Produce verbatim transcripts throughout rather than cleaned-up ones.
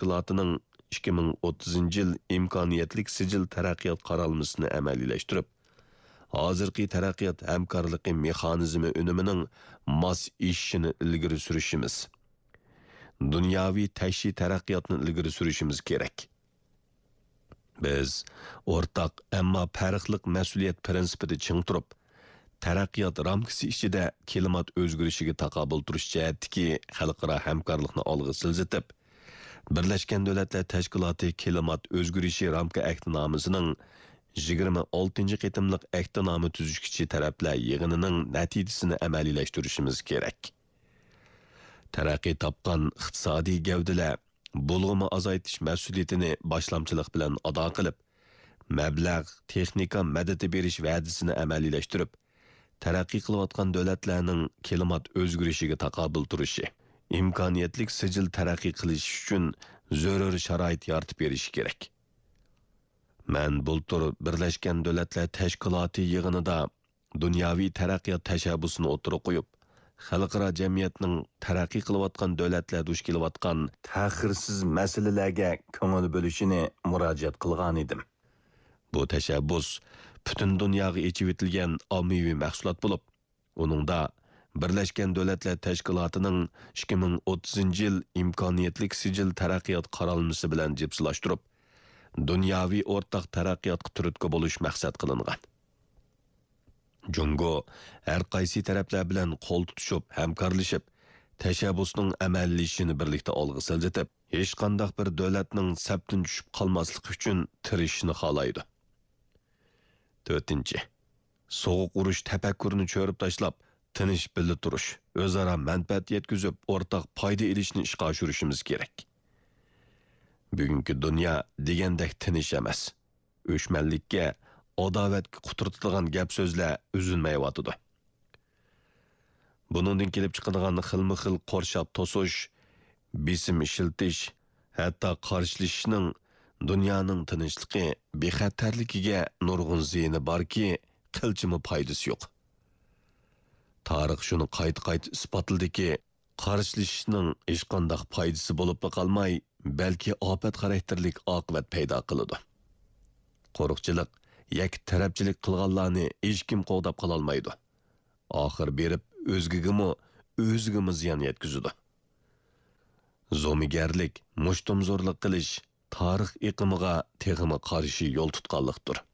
تەشكىلاتىنىڭ ئىككى مىڭ ئوتتۇزىنچى يىل ئىمكانىيەتلىك سىجىل تەرەققىيات قارالمىسىنى ئەمەلىيلەشتۈرۈپ، ھازىرقى تەرەققىيات ھەمكارلىقى مېخانىزمى ئۈنۈمىنىڭ ماس ئېشىشىنى ئىلگىرى سۈرۈشىمىز، دۇنياۋى تەكشى تەرەققىياتنى ئىلگىرى سۈرۈشىمىز كېرەك. بىز ئورتاق، ئەمما پەرقلىق مەسئۇلىيەت پىرىنسىپىدا چىڭ تۇرۇپ، تەرەققىيات رامكىسى ئىچىدە كىلىمات ئۆزگىرىشىگە تاقابىل تۇرۇش جەھەتتىكى خەلقئارا ھەمكارلىقنى ئالغا سىلجىتىپ، بىرلەشكەن دۆلەتلەر تەشكىلاتى كىلىمات ئۆزگىرىشى رامكا ئەھدىنامىسىنىڭ يىگىرمە ئالتىنچى قېتىملىق ئەھدىنامە تۈزۈشكۈچى تەرەپلەر يىغىنىنىڭ نەتىجىسىنى ئەمەلىيلەشتۈرۈشىمىز كېرەك. تەرەققىي تاپقان ئىقتىسادىي گەۋدىلەر بۇلغىما ئازايتىش مەسئۇلىيىتىنى باشلامچىلىق بىلەن ئادا قىلىپ، مەبلەغ، تېخنىكا مەدىتى بېرىش ۋەدىسىنى ئەمەلىيلەشتۈرۈپ، تەرەققىي قىلىۋاتقان دۆلەتلەرنىڭ كىلىمات ئۆزگىرىشىگە تاقابىل تۇرۇشى، ئىمكانىيەتلىك سىجىل تەرەققىي قىلىشى ئۈچۈن زۆرۈر شارائىت يارىتىپ بېرىشى كېرەك. مەن بۇلتۇر بىرلەشكەن دۆلەتلەر تەشكىلاتى يىغىنىدا دۇنياۋى تەرەققىيات تەشەببۇسىنى ئوتتۇرىغا قويۇپ، خەلقئارا جەمئىيەتنىڭ تەرەققىي قىلىۋاتقان دۆلەتلەر دۇچ كېلىۋاتقان تەخىرسىز مەسىلىلەرگە كۆڭۈل بۆلۈشىنى مۇراجىئەت قىلغانىدىم. بۇ تەشەببۇس پۈتۈن دۇنياغا ئېچىۋېتىلگەن ئاممىۋى مەھسۇلات بولۇپ، ئۇنىڭدا بىرلەشكەن دۆلەتلەر تەشكىلاتىنىڭ ئىككى مىڭ ئوتتۇزىنچى يىل ئىمكانىيەتلىك سىجىل تەرەققىيات قارالمىسى بىلەن جىپسىلاشتۇرۇپ، دۇنياۋى ئورتاق تەرەققىياتقا تۈرتكە بولۇش مەقسەت قىلىنغان. جۇڭگو ھەر قايسى تەرەپلەر بىلەن قول تۇتۇشۇپ، ھەمكارلىشىپ، تەشەببۇسنىڭ ئەمەلىيلىشىشىنى بىرلىكتە ئالغا سىلجىتىپ، ھېچقانداق بىر دۆلەتنىڭ سەپتىن چۈشۈپ قالماسلىقى ئۈچۈن تىرىشىشنى خالايدۇ. تۆتىنچى، سوغۇق ئۇرۇش تەپەككۇرىنى چۆرۈپ تاشلاپ، تىنچ بىللە تۇرۇش، ئۆزئارا مەنپەئەت يەتكۈزۈپ، ئورتاق پايدا ئېلىشنى ئىشقا ئاشۇرۇشىمىز كېرەك. بۈگۈنكى دۇنيا دېگەندەك تىنچ ئەمەس. ئۆچمەنلىككە، ئاداۋەتكە قۇترىتىدىغان گەپ-سۆزلەر ئۈزۈلمەيۋاتىدۇ. بۇنىڭدىن كېلىپ چىقىدىغان خىلمۇ خىل قورشاپ توسۇش، بېسىم ئىشلىتىش، ھەتتا قارشىلىشىشنىڭ دۇنيانىڭ تىنچلىقى، بىخەتەرلىكىگە نۇرغۇن زىيىنى باركى، قىلچىمۇ پايدىسى يوق. تارىخ شۇنى قايتا-قايتا ئىسپاتلىدىكى، قارشىلىشىشنىڭ ھېچقانداق پايدىسى بولۇپلا قالماي، بەلكى ئاپەت خاراكتېرلىك ئاقىۋەت پەيدا قىلىدۇ. قورۇقچىلىق، يەككە تەرەپچىلىك قىلغانلارنى ھېچكىم قوغداپ قالالمايدۇ. ئاخىر بېرىپ ئۆزگىگىمۇ، ئۆزىگىمۇ زىيان يەتكۈزىدۇ. زومىگەرلىك، مۇشتۇمزورلۇق قىلىش تارىخ ئېقىمىغا تېخىمۇ قارشى يول تۇتقانلىقتۇر.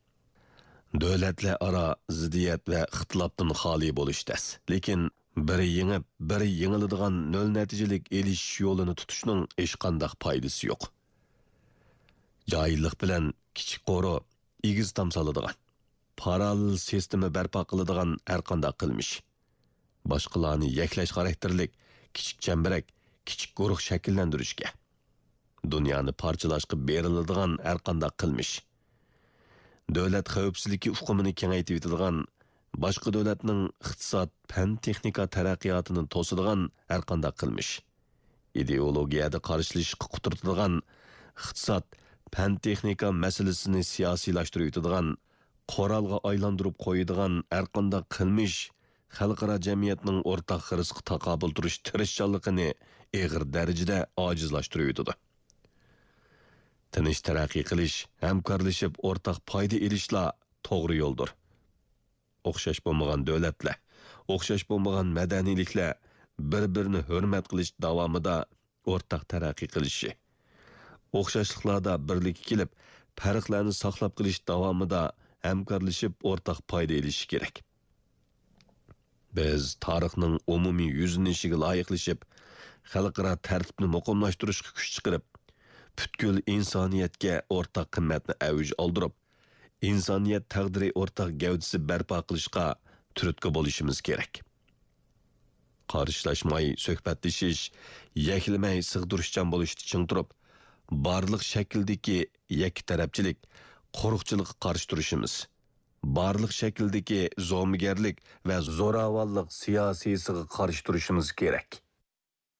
دۆلەتلەر ئارا زىددىيەت ۋە ئىختىلاپتىن خالىي بولۇش تەس، لېكىن بىرى يېڭىپ، بىرى يېڭىلىدىغان نۆل نەتىجىلىك ئېلىشىش يولىنى تۇتۇشنىڭ ھېچقانداق پايدىسى يوق. جاھىللىق بىلەن كىچىك قورۇ، ئېگىز تام سالىدىغان، پاراللېل سىستېما بەرپا قىلىدىغان ھەرقانداق قىلمىش، باشقىلارنى يەكلەش خاراكتېرلىك كىچىك چەمبىرەك، كىچىك گۇرۇھ شەكىللەندۈرۈشكە، دۇنيانى پارچىلاشقا بېرىلىدىغان ھەرقانداق قىلمىش، دۆلەت خەۋپسىزلىكى ئۇقۇمىنى كېڭەيتىۋېتىدىغان، باشقا دۆلەتنىڭ ئىقتىساد، پەن-تېخنىكا تەرەققىياتىنى توسىدىغان ھەرقانداق قىلمىش، ئىدېئولوگىيەدە قارشىلىشىشقا قۇترىتىدىغان، ئىقتىساد، پەن-تېخنىكا مەسىلىسىنى سىياسىيلاشتۇرۇۋېتىدىغان، قورالغا ئايلاندۇرۇپ قويىدىغان ھەرقانداق قىلمىش خەلقئارا جەمئىيەتنىڭ ئورتاق خىرىسقا تاقابىل تۇرۇش تىرىشچانلىقىنى ئېغىر دەرىجىدە ئاجىزلاشتۇرۇۋېتىدۇ. تىنچ تەرەققىي قىلىش، ھەمكارلىشىپ ئورتاق پايدا ئېلىشلا توغرا يولدۇر. ئوخشاش بولمىغان دۆلەتلەر، ئوخشاش بولمىغان مەدەنىيلىكلەر بىر-بىرىنى ھۆرمەت قىلىش داۋامىدا ئورتاق تەرەققىي قىلىشى، ئوخشاشلىقلاردا بىرلىككە كېلىپ، پەرقلەرنى ساقلاپ قېلىش داۋامىدا ھەمكارلىشىپ ئورتاق پايدا ئېلىشى كېرەك. بىز تارىخنىڭ ئومۇمىي يۈزلىنىشىگە لايىقلىشىپ، خەلقئارا تەرتىپنى مۇقىملاشتۇرۇشقا كۈچ چىقىرىپ، پۈتكۈل ئىنسانىيەتكە ئورتاق قىممەتنى ئەۋج ئالدۇرۇپ، ئىنسانىيەت تەقدىرى ئورتاق گەۋدىسى بەرپا قىلىشقا تۈرتكە بولۇشىمىز كېرەك. قارشىلاشماي سۆھبەتلىشىش، يەكلىمەي سىغدۇرۇشچان بولۇشتا چىڭ تۇرۇپ، بارلىق شەكىلدىكى يەككە تەرەپچىلىك، قورۇقچىلىققا قارشى تۇرۇشىمىز، بارلىق شەكىلدىكى زومىگەرلىك ۋە زوراۋانلىق سىياسىيسىغا قارشى تۇرۇشىمىز كېرەك.